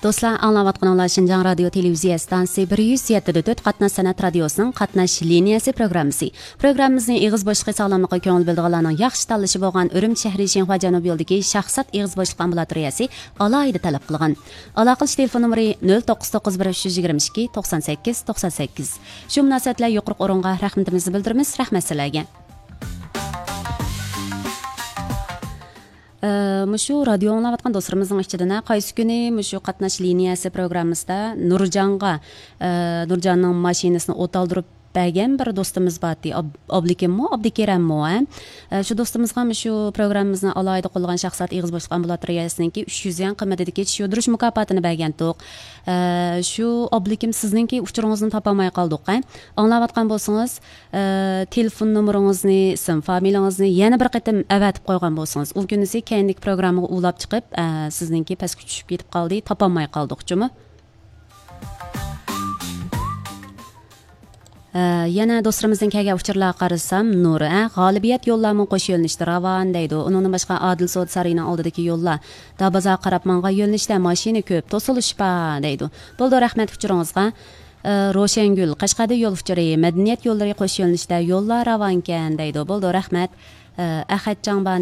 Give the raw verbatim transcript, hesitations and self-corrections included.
دوستلار، ئاڭلاۋاتقىنىڭلار شىنجاڭ رادىيو تېلېۋىزىيە ئىستانسىسى بىر يۈز يەتتە نۆل تۆت قاتناش سەنئەت رادىيوسىنىڭ قاتناش لىنىيەسى پروگراممىسى. پروگراممىمىزنى ئېغىز بوشلۇقى ساغلاملىقىغا كۆڭۈل بۆلىدىغانلارنىڭ ياخشى تاللىشى بولغان ئۈرۈمچى شەھىرى شىنخۇا جەنۇبىي يولىدىكى شاھزات ئېغىز بوشلۇق ئامبۇلاتورىيەسى ئالاھىدە تەلەپ قىلغان. ئالاقىلىشىش تېلېفون نومۇرى نۆل توققۇز توققۇز بىر ئۈچ يۈز يىگىرمە ئىككى توقسان سەككىز توقسان سەككىز. شۇ مۇناسىۋەت بىلەن يۇقىرىقى ئورۇنغا رەھمىتىمىزنى بىلدۈرىمىز. رەھمەت سىلەرگە. ئە، مۇشۇ رادىيو ئاڭلاۋاتقان دوستلىرىمىزنىڭ ئىچىدىن، ھە، قايسى كۈنى مۇشۇ قاتناش لىنىيەسى پروگراممىسىدا نۇرجانغا، ئە، نۇرجاننىڭ ماشىنىسىنى ئوت ئالدۇرۇپ بەرگەن بىر دوستىمىز بارتى. ئاب-، ئابلىكىممۇ، ئابدۇكېرەممۇ، ھە؟ ئە، شۇ دوستىمىزغا مۇشۇ پروگراممىمىزنى ئالاھىدە قوللىغان شاھزات ئېغىز بوشلۇق ئامبۇلاتورىيەسىنىڭكى ئۈچ يۈز يۈەن قىممىتىدىكى چىش يۇدۇرۇش مۇكاپاتىنى بەرگەنتۇق. ئە، شۇ ئابلىكىم، سىزنىڭكى ئۇچۇرىڭىزنى تاپالماي قالدۇق، ھە؟ ئاڭلاۋاتقان بولسىڭىز، ئە، تېلېفون نومۇرىڭىزنى، ئىسىم فامىلىڭىزنى يەنە بىر قېتىم ئەۋەتىپ قويغان بولسىڭىز، ئۇ كۈنىسى كەينىدىكى پروگراممىغا ئۇلاپ چىقىپ، ئە، سىزنىڭكى پەسكە چۈشۈپ كېتىپ قالدى، تاپالماي قالدۇق جۇمۇ. ئە، يەنە دوستلىرىمىزدىن كەلگەن ئۇچۇرلارغا قارىسام، نۇر، ئە، غالىبىيەت يوللارمۇ قوش يۆنىلىشتە راۋان دەيدۇ. ئۇنىڭدىن باشقا، ئادىل سودا سارىيىنىڭ ئالدىدىكى يوللار دابازارغا قاراپ ماڭغان يۆنىلىشتە ماشىنا كۆپ، توسۇلۇش بار دەيدۇ. بولىدۇ، رەھمەت ئۇچۇرىڭىزغا. ئە، روشەنگۈل، قەشقەردە يول ئۇچۇرى، مەدەنىيەت يوللىرى قوش يۆنىلىشتە يوللار راۋانكەن دەيدۇ. بولىدۇ، رەھمەت. ئە، ئەخەت جاڭبانى